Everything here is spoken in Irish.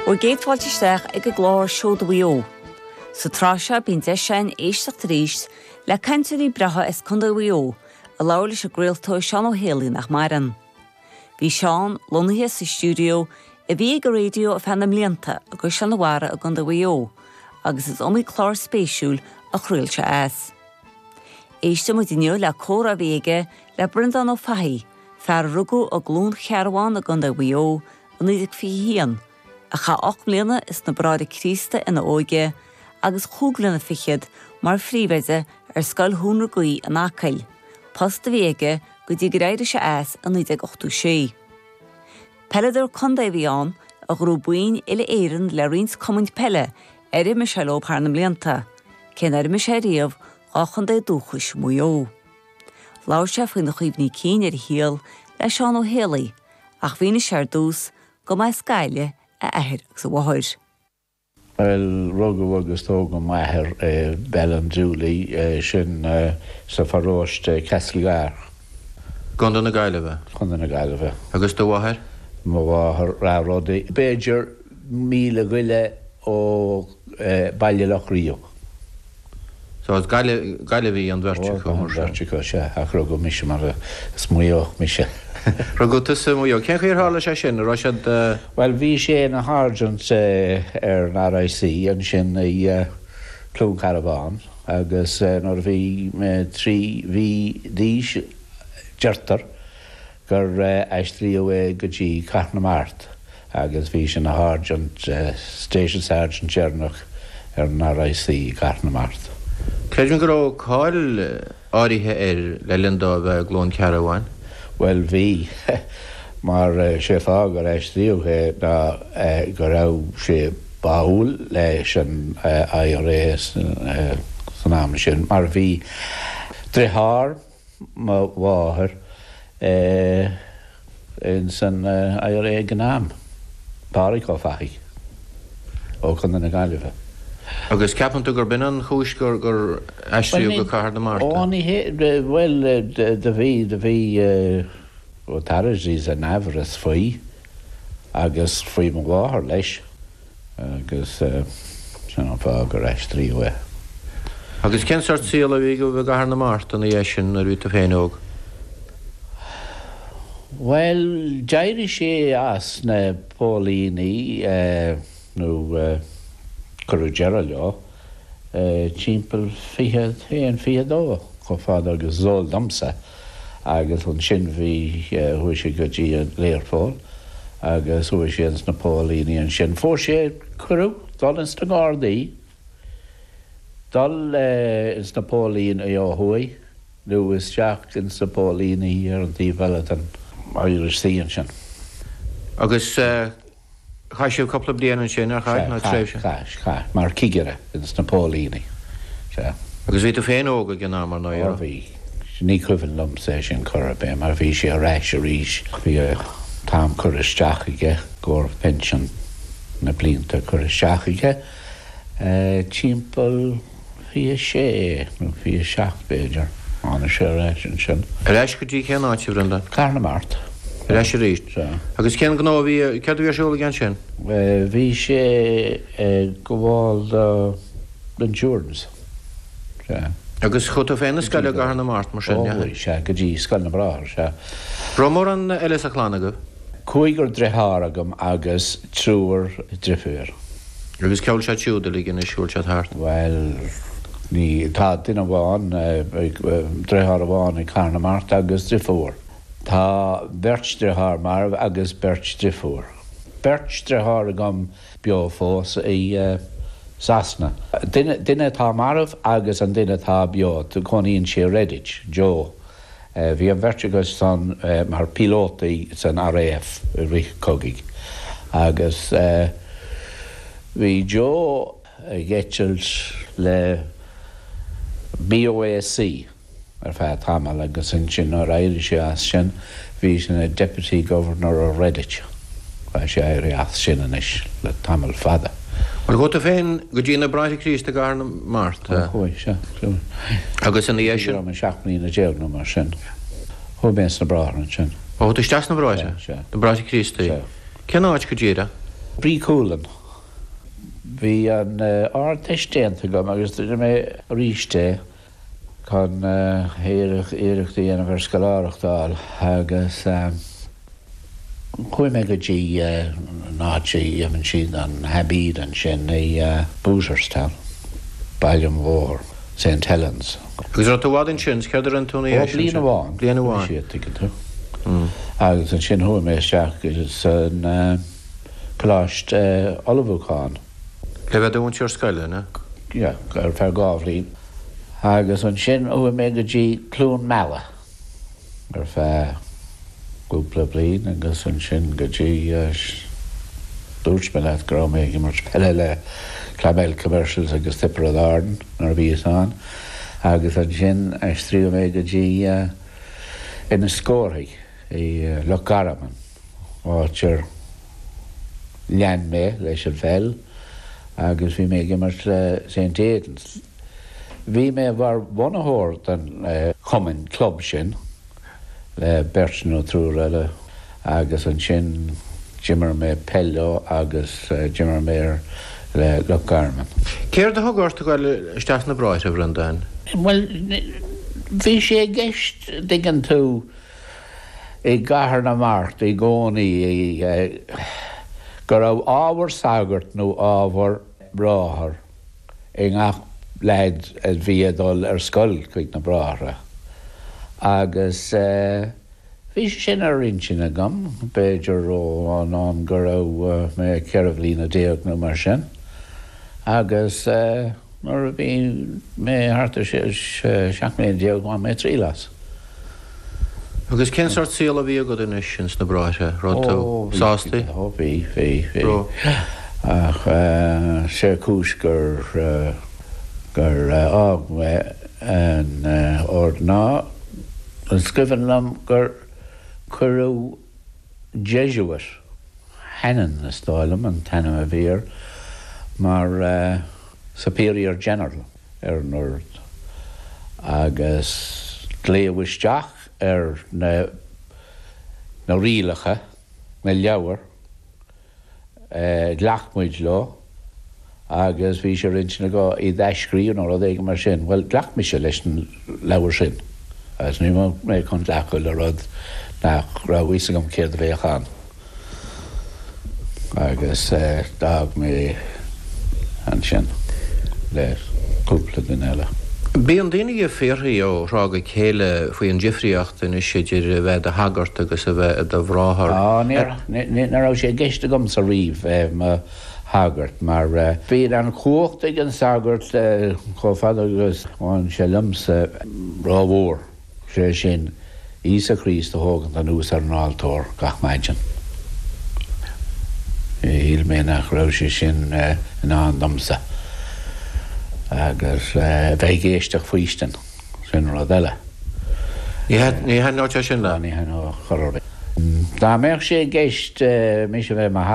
Bhur gcéad fáilte isteach ag an gclár Seoda Mhaigh Eo. Sa tsraith seo bíonn deis againn éisteacht arís le cainteoirí breátha as Contae Mhaigh Eo a labhair leis an gcraoltóir Seán Ó Héalaí nach maireann. Bhí Seán lonnaithe sa stiúideo a bhí ag an raidió ar feadh na mblianta i gCaisleán an Bharraigh i gContae Mhaigh Eo agus is iomaí clár spéisiúil a chraol sé as. Éistfidh muid inniu le comhrá a bhí aige le Breandán Ó Fathaigh, fear a rugadh i gCluain Chearbhán i gContae Mhaigh Eo i 1921, a chaith 8 mbliana is na Bráithre Críosta ina óige agus chúig bliana fichead mar phríomhoide ar Scoil Thóin na Gaoithe in Acaill, post a bhí aige go dtí gur éirigh sé as i 1986. Peileadóir contae a bhí ann a ghnóthaigh boinn uile-Éireann le roinnt cumainn peile ar imir sé leo thar na mblianta, cé nár imir sé riamh dhá chontae dúchais Mhaigh Eo. Labhair sé faoina chuimhní cinn ar a shaol le Seán Ó Héalaí ach mhínigh sé ar dtús go mba as Gaillimh a athair agus a mháthair. Bhuel, rugadh agus tógadh m'athair i Ballindooley, sin sa pharóiste Castlegar. Contae na Gaillimhe. Contae na Gaillimhe. Agus do mháthair? Mo mháthair, Ráth Rodaí, b'fhéidir míle go leith ó Baile Locha Riach. So as Gaillimh, Gaillimhigh an bheirt acu, mar sin. An bheirt acu, sea, ach rugadh mise mar is Maigh Eoch mise. Rugadh tusa i Maigh Eo. Cén chaoi ar tharla sé sin? An raibh siad. Bhuel, bhí sé ina sháirsint ar an RIC ansin i Cluain Cearbán agus nuair a bhí mé 3 mhí d'aois, deirtear, gur aistríodh é go dtí Cathair na Mart agus bhí sé ina sháirsint, station sergeant deireanach ar an RIC i gCathair na Mart. Creidim go raibh cáil áirithe air le linn dó a bheith i gCluain Cearbháin. Bhuel bhí, mar sé fáth gur aistríodh é ná go raibh sé báúil leis an IRA san am sin mar bhí driotháir mo mháthair ins an IRA ag an am, Pádhraic Ó Fathaigh ó Chontae na Gaillimhe. Agus ceapann tú gurb in an chúis gur gur aistríodh go Cathair na Mart é? Ó ní hé, bhuel do bhí, do bhí authorities in amhras faoi agus faoi mo mháthair leis. Agus sin an fáth gur aistríodh é. Agus cén sórt saol a bhí agaibh i gCathair na Mart ina dhiaidh sin nuair a bhí tú féin óg? Bhuel, d'éirigh sé as na póilíní, nó cuireadh deireadh leo, timpeall 21, 22, chomh fada agus is eol domsa. Agus ansin bhí, chuaigh sé go dtí an Learpholl agus chuaigh sé ins na póilíní ansin. Fuair sé cuireadh dul ins na Gardaí, dul ins na póilíní ó thuaidh nó isteach ins na póilíní ar an taobh eile den Irish Sea ansin. Agus. Chaith sibh cúpla bliain ansin, ar chaith, nó tréimhse? Chaith, chaith, mar chigire ins na póilíní, sea. Agus bhí tú féin óg ag an am, ar ndóigh, Ó bhí. Ní cuimhin liomsa é sin chor ar bith, mar bhí sé ar ais arís, bhí an t-am curtha isteach aige, i gcomhair pinsean, na blianta curtha isteach aige, timpeall. 26 nó 27 b'fhéidir. Tháinig sé ar ais ansin. Ar ais go dtí cén áit, a Bhreandáin? Cathair na Mart. Ar ais arís. Sea. Agus cén gnó a bhí, céard a bhí ar siúl aige ansin? Bhí sé ag gabháil do insurance. Sea. Agus chuaigh tú féin 'na scoile i gCathair na Mart mar sin, Ó chuaigh, sea, go dtí Scoil na mBráthar, sea. Raibh mórán eile sa chlann agaibh? Cúigear driotháir agam agus triúr driofúr. Agus cá bhfuil siad siúd uilig anois, bhfuil siad thart? Bhuel, ní, tá duine amháin, driotháir amháin i gCathair na Mart agus driofúr. Tá beirt driotháir marbh agus beirt driofúr. Beirt driotháir agam beo fós i Sasana. Duine, duine atá marbh agus an duine atá beo, cónaíonn sé i Redditch, Joe. Bhí an bheirt acu san mar píolótaí san RAF i rith an chogaidh agus bhí Joe ag eitilt le BOAC ar feadh tamaill agus ansin nuair a éirigh sé as sin bhí sé ina Deputy Governor of Redditch. Tá sé éirithe as sin anois le tamall fada. Bhuel, chuaigh tú féin go dtí na Bráithre Críost i gCathair na Mart. Ó, chuaigh, sea, chuaigh. Agus ina dhiaidh sin? Bhí mé 17 mbliana nó mar sin. Chuaigh mé sna Bráithre ansin. Ó, chuaigh tú isteach sna Bráithre? Sea, sea. Na Bráithre Críostaí. Sea. Cén áit go díreach? Brí Cualann. Bhí an Ardteist déanta agam agus rinne mé arís é chun iarracht a dhéanamh ar scoláireacht a fháil agus chuaigh mé go dtí an áit a dhéanann siad an haibíd ansin i Booterstown, Baile an Bhóthair, St Helens. Agus raibh tú i bhfad ansin, céard a rinne tú ina dhiaidh sin? Ó, bliain amháin. Bliain amháin. Bhí siad, tuigeann tú. Agus ansin chuaigh mé isteach san coláiste ullmhúcháin. Le bheith i do mhúinteoir scoile, an ea? Yeah, ar feadh 2 bhliain. Agus ansin chuaigh mé go dtí Cluain Meala ar feadh cúpla bliain agus ansin go dtí, dúirt mé leat go raibh mé ag imirt peile le Clonmel Commercials agus Tiobraid Árann nuair a bhíos ann agus ansin aistríodh mé go dtí Inis Córthaidh i Loch Garman. áit ar lean mé leis an pheil agus bhí mé ag imirt le St Aidan's. Bhí mé mar bhunaitheoir den chumann, club, sin le beirt nó triúr eile agus ansin d'imir mé peil leo agus d'imir mé le Loch Garman. Céard a thug ort a ghoil isteach sna Bráithre, a Bhreandáin? Bhuel, bhí sé i gceist, dtuigeann tú, i gCathair na Mart i gcónaí go raibh ábhar sagairt nó ábhar bráthar i ngach leaid a bhí ag dul ar scoil chuig na Bráithre agus bhí sé sin ar intinn agam, b'fhéidir ó an am go raibh mé 14 bhliana nó mar sin agus. Nuair a bhí mé thart ar 17 mbliana bhain mé triail as. Agus cén sórt saol a bhí agat anois ins na Bráithre? Raibh tú sásta? Ó bhí, bhí, bhí. Ach sé cúis gur gur fhág mé an ord ná is cuimhin liom gur cuireadh Jesuit, Hannon is dóigh liom an t-ainm a bhí air, mar Superior General ar an ord agus glaodh isteach ar na na rialacha, na leabhair, Ghlac muid leo agus bhí sé ar intinn acu iad a athscríobh nó rud éigin mar sin. Bhuel, ghlac mise leis an leabhar sin agus ní raibh mé chun glacadh le rud nach raibh fhios agam céard a bheadh ann. Agus d'fhág mé ansin le cúpla duine eile. Bíonn daoine ag fiafraí ó thráth go chéile faoi an difríocht anois idir a bheith i do shagart agus a bheith i do bhráthair. Á, ní raibh sé i gceist agamsa riamh bheith i mo shagart mar bíonn an chumhacht ag an sagart chomh fada agus a bhain sé liomsa rómhór. Sé sin, Íosa Críost a thógaint anuas ar an altóir gach maidin. Shíl mé nach raibh sé sin i ndán domsa. Agus bheith ag éisteacht faoistin, sin rud eile. Ní thaitneodh sé sin leat? Ní thaitneodh chor ar bith. Dá mbeadh sé i gceist mise a bheith i mo.